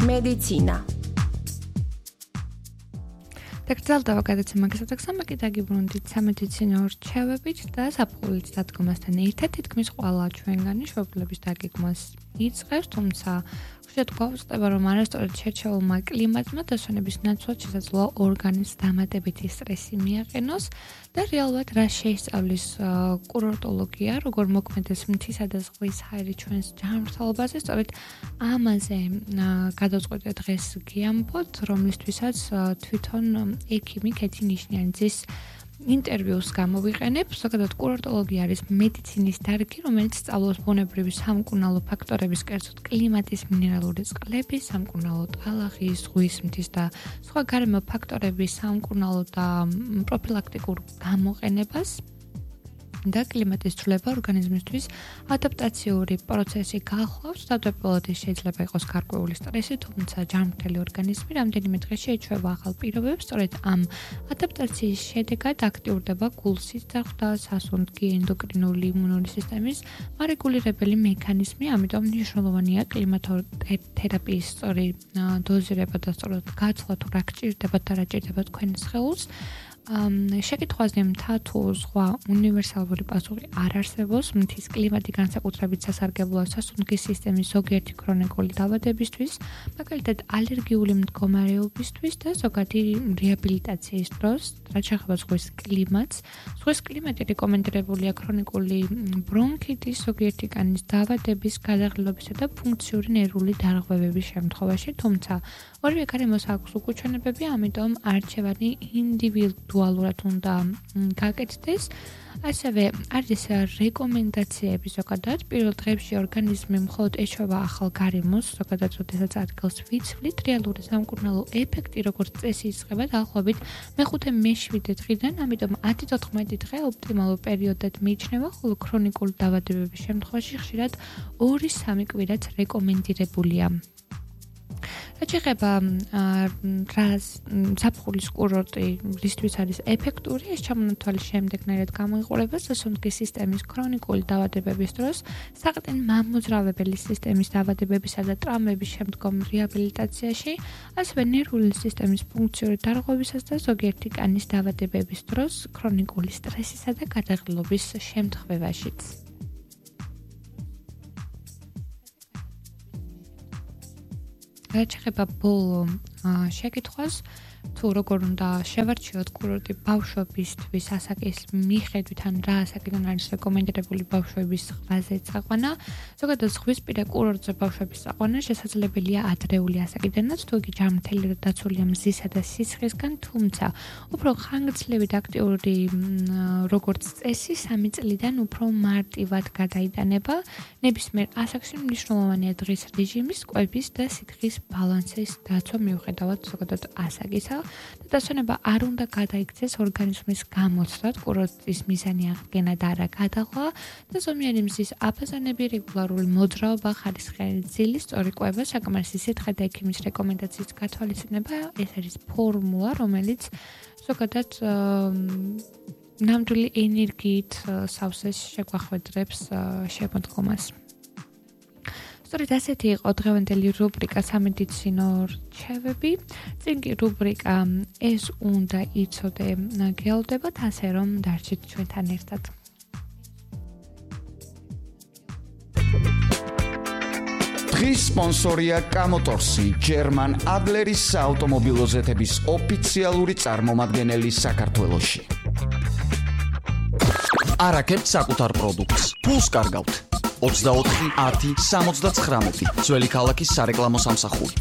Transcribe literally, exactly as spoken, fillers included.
მედიცინა. დაკრძალვა გადაცემა გასაგზავნებით დაგიბრუნდით სამედიცინო რჩევებით და საფულის დადგომასთან ერთად თითქმის ყველა ჩვენგანი შვებულების დაგეგმვას იწყებს, თუმცა ხშირად გვაუწყდება, რომ არასწორად შერჩეულმა კლიმატმა დასვენების ნაცვლად შესაძლოა ორგანიზმს დამატებითი სტრესი მიაყენოს და რეალურად რა შეისწავლის კურორტოლოგია, როგორ მოქმედებს მთისა და ზღვის ჰაერი ჩვენს ჯანმრთელობაზე, სწორედ ამაზე გადავწყვეტე დღეს გიამბოთ, რომლისთვისაც თვითონ ექიმი კეთი ნიშნიანიძის ინტერვიუს გამოვიყენებ. ზოგადად კურორტოლოგია არის მედიცინის დარგი, რომელიც სწავლობს ბუნებრივი სამკურნალო ფაქტორების, კერძოდ კლიმატის, მინერალური წყლების, სამკურნალო ტალახის, ზღვის მთის და სხვა გარემო ფაქტორების სამკურნალო და პროფილაქტიკურ გამოყენებას და კლიმატის ცვლილება ორგანიზმისთვის ადაპტაციური პროცესი გახლავს. თავდაპირველად შეიძლება იყოს გარკვეული სტრესი, თუმცა ჯანმრთელი ორგანიზმი რამდენიმე დღე შეიცვალა ახალ პირობებს. სწორედ ამ ადაპტაციის შედეგად აქტიურდება გულსის წახდა, სასუნთქი, ენდოკრინული, იმუნური სისტემის მარეგულირებელი მექანიზმი. ამიტომ მნიშვნელოვანია კლიმატოთერაპიის სწორი დოზირება და სწორად გაცვლა, თუ რა გჭირდება და რა ჭირდება თქვენ სხეულს. შეკითხვაზე მთა თუ სხვა უნივერსალური პასუხი არ არსებობს. მთის კლიმატი განსაკუთრებით სასარგებლოა სასუნთქის სისტემის ზოგიერთი ქრონიკული დაავადებისთვის, მაგალითად ალერგიული მდგომარეობისთვის და ზოგადი რეაბილიტაციის დროს, რაც შეეხება ზღვის კლიმატს. ზღვის კლიმატი რეკომენდებულია ქრონიკული ბრონქიტის, ზოგიერთი კანის დაავადების, გადაღლილობისა და ფუნქციური ნერვული დარღვევების შემთხვევაში, თუმცა ორივე გარემოს აქვს უკუჩვენებები, ამიტომ არჩევანი ინდივიდუალურად უნდა გაკეთდეს. ასევე არის რეკომენდაციები ზოგადად. პირველ დღეებში ორგანიზმი მხოლოდ ეჩვევა ახალ გარემოს, ზოგადად როდესაც ადგილს ვიცვლით, რეალური სამკურნალო ეფექტი როგორც წესი იწყება დაახლოებით მეხუთე მეშვიდე დღიდან, ამიტომ ათი თოთხმეტი დღე ოპტიმალურ პერიოდად მიიჩნევა, ხოლო ქრონიკული დაავადებების შემთხვევაში ხშირად ორი სამი კვირაც რეკომენდირებულია. რაც შეეხება ზაფხულის კურორტი, რისთვის არის ეფექტური, ეს ჩამონათვალის შემდეგნაირად გამოიყურება სასუნთქის სისტემის ქრონიკული დაავადებების დროს, საყრდენ მამოძრავებელი სისტემის დაავადებებისა და ტრამვების შემდგომ რეაბილიტაციაში, ასევე ნერვული სისტემის ფუნქციური დარღვევისას და ზოგიერთი კანის დაავადებების დროს, ქრონიკული სტრესისა და გადაღლილობის შემთხვევაშიც. რაც შეეხება ბოლო შეკითხვას, თუ როგორ უნდა შევარჩიოთ კურორტი ბავშვებისთვის ასაკის მიხედვით, ან რა ასაკიდან არის რეკომენდირებული ბავშვების ზღვაზე წაყვანა. ზოგადად ზღვისპირა კურორტზე ბავშვების წაყვანა შესაძლებელია ადრეული ასაკიდანაც, თუ იგი ჯანმრთელი და დაცულია მზისა და სისხლისგან, თუმცა უფრო ხანგრძლივი და აქტიური როგორც წესი სამი წლიდან უფრო მარტივად გადაიტანება. ნებისმიერ ასაკში მნიშვნელოვანია დღის რეჟიმის, კვების და სითხის ბალანსის დაცვა მიუხედავად ზოგადად ასაკისა. და დასვენება არ უნდა გადაიქცეს ორგანიზმის გამოცდად, კურორტის მიზანი აღდგენა და არა გადაღლა და ზომიერი მზის აბაზანები, რეგულარული მოძრაობა, ხარისხიანი ძილის სწორი კვება, საკმარისი სითხე და ექიმის რეკომენდაციის გათვალისწინება, ეს არის ფორმულა, რომელიც ზოგადად ნამდვილი ენერგიით სავსეს შეგვახვედრებს შემოდგომას. სწორედ ასეთი იყო დღევანდელი რუბრიკა სამედიცინო რჩევები. წინ კი რუბრიკა ეს უნდა იცოდე გელოდებათ, ასე რომ დარჩით ჩვენთან ერთად. დღის სპონსორია კამოტორსი, ჯერმან ადლერის საავტომობილო ზეთების ოფიციალური წარმომადგენელი საქართველოში. არაკებთ საკუთარ პროდუქტს. ფულს კარგავთ. ოცდაოთხი ათი სამოცდათხრამეტი ძველი ქალაქის სარეკლამო სამსახური.